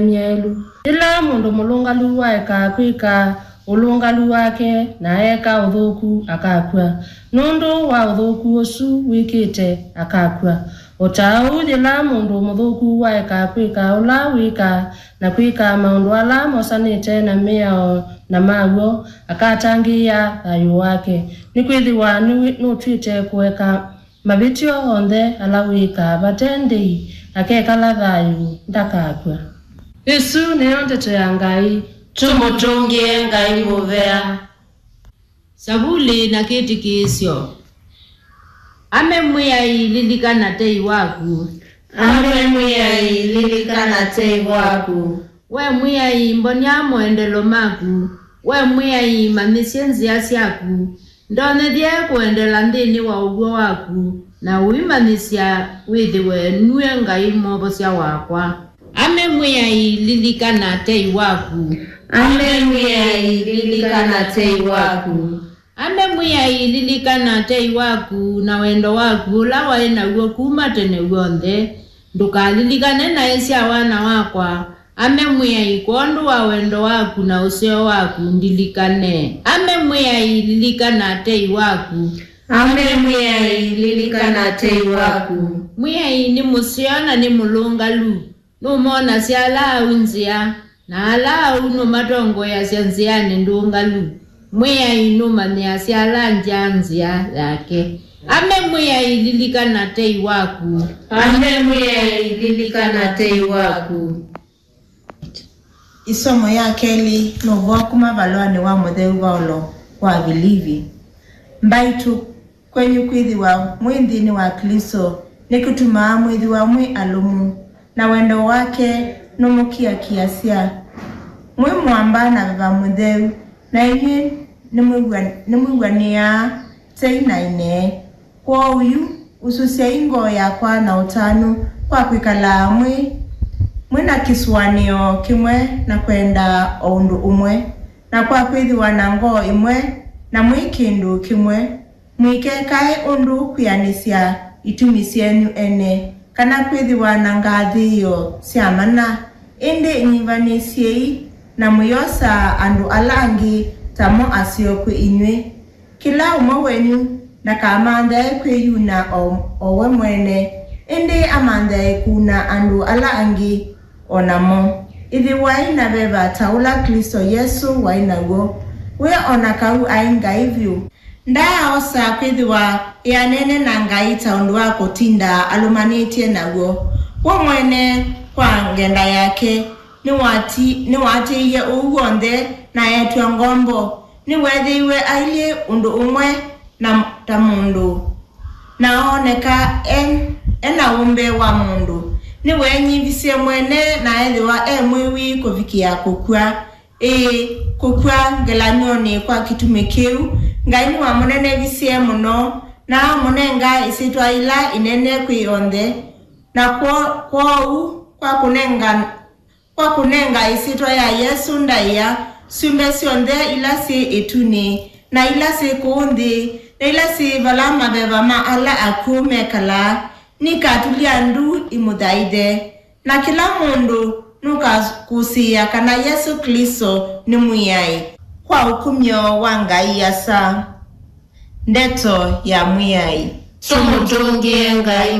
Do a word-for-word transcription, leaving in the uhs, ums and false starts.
myaĩlu. Yĩla mũndũ mũlũngalu waeka kwĩka ũlũngalu wake na eeka ũthũku, akakw'a. Nũndũ wa ũthũku ũsu wĩkĩte, akakw'a. O ta ũu, yĩla mũndũ mũthũku waeka kwĩka ũla wĩkaa na kwĩka maũndũ ala mosanĩte na mĩao na maw'o, akatangĩĩa thayũ wake, nĩkwĩthĩwa nĩwĩ-, nũtw'ĩte kũeka mavĩtyo onthe ala wĩkaa vate ndĩi, akekala thayũ, ndakakw'a. Ĩsu nĩyo ndeto ya Ngai. Tũmũtũngĩe Ngai mũvea. Savuli na kĩtĩkĩĩsyo. Ame Mwĩai, lilikana tei waku. Ame Mwĩai, lilikana tei waku. We Mwĩai, mbonia moendelo maku. We Mwĩai, manyĩsye nzĩa syaku. Ndonyethye kũendela nthĩnĩ wa ũw'o waku, na ũimanyĩsya wĩthĩwe nue Ngai Mwovosya wakwa. Ame Mwĩai, lilikana tei waku. Ame Mwĩai, lilikana tei waku. Ame Mwĩai, lilikana tei waku na wendo waku ũla waĩ naw'o kuma tene w'onthe. Ndũkalilikane naĩ sya wana wakwa. Ame Mwĩai, kwondũ wa wendo waku na ũseo waku, ndilikane. Ame Mwĩai, lilikana tei waku. Ame Mwĩai, lilikana tei waku. Mwĩai nĩ mũseo na nĩ mũlũngalu. Nũmonasya ala au nzĩa, na ala au nũmatongoeasya nzĩanĩ ndũngalu. Mwĩai nũmanyĩasya ala ngya nzĩa yake. Ame Mwĩai, lilikana tei waku. Ame Mwĩai, lilikana tei waku. Ĩsomo ya kelĩ nũvoa kuma valũanĩ wa mũtheu Vaũlo kwa Avilivi. Mbaitũ, kwenyu kwĩthĩwa mwĩ nthĩnĩ wa Klĩsto nĩkũtumaa mwĩthĩwa mwĩ alũmu, na wendo wake nũmũkiakiasya. Mwĩ mũamba na veva mũtheu, na inyw'ĩ nĩmwĩw'a-, nĩmwĩw'anĩaa tei na ĩnee. Kwoou yu, ususyai ngoo yakwa na ũtanu kwa kwĩkalaa mwĩ, mwĩ na kĩsũanĩo kĩmwe na kwenda o ũndũ ũmwe, na kwa kwĩthĩwa na ngoo ĩmwe na mwĩ kĩndũ kĩmwe. Mũikekae ũndũ kwĩanĩsya itumi syenyu ene, kana kwĩthĩwa na ngathĩĩo sya mana, ĩndĩ nyivanĩsyei na mũyosaa andũ ala angĩ ta mo aseo kwĩ inyw'ĩ. Kĩla ũmwe wenyu ndakamanthae kwĩyuna o, o we mwene, ĩndĩ amanthae kũuna andũ ala angĩ o namo. Ĩthĩwai na veva ta ũla Klĩsto Yesũ waĩ naw'o, we o na kau aĩ Ngai vyũ. Ndaaosa kwĩthĩwa eanene na Ngai ta ũndũ wa kũtinda alũmanĩtye naw'o. We mwene, kwa ngenda yake, nĩwati-, nĩwaatĩĩie ũu w'onthe na eetw'a ngombo. Nĩweethĩiwe ailyĩ ũndũ ũmwe na ta mũndũ, na ooneka e, e na ũmbe wa mũndũ. Nĩweenyivisye mwene na ethĩwa e mwĩwi kũvikĩa kũkw'a, ĩĩ, kũkw'a ngelany'onĩ kwa kĩtumi kĩu. Ngai nĩwamũnenevisye mũno, na amũnenga ĩsyĩtwa ĩla ĩnene kwĩ onthe, na kwo-, kwoou kwa kũnenga Kwa kũnenga ĩsyĩtwa ya Yesũ ndaĩa, syũmbe syonthe ila syĩ ĩtunĩ, na ila syĩ kũũ nthĩ, na ila syĩ vala maveva ma ala akw'ũ mekalaa, nikatulya ndu imũthaithe. Na kĩla mũndũ nũkakũsĩĩa kana Yesũ Klĩsto nĩ Mwĩai, kwa ũkumyo wa Ngai Asa. Ndeto ya Mwĩai. Tũmũtũngĩe Ngai.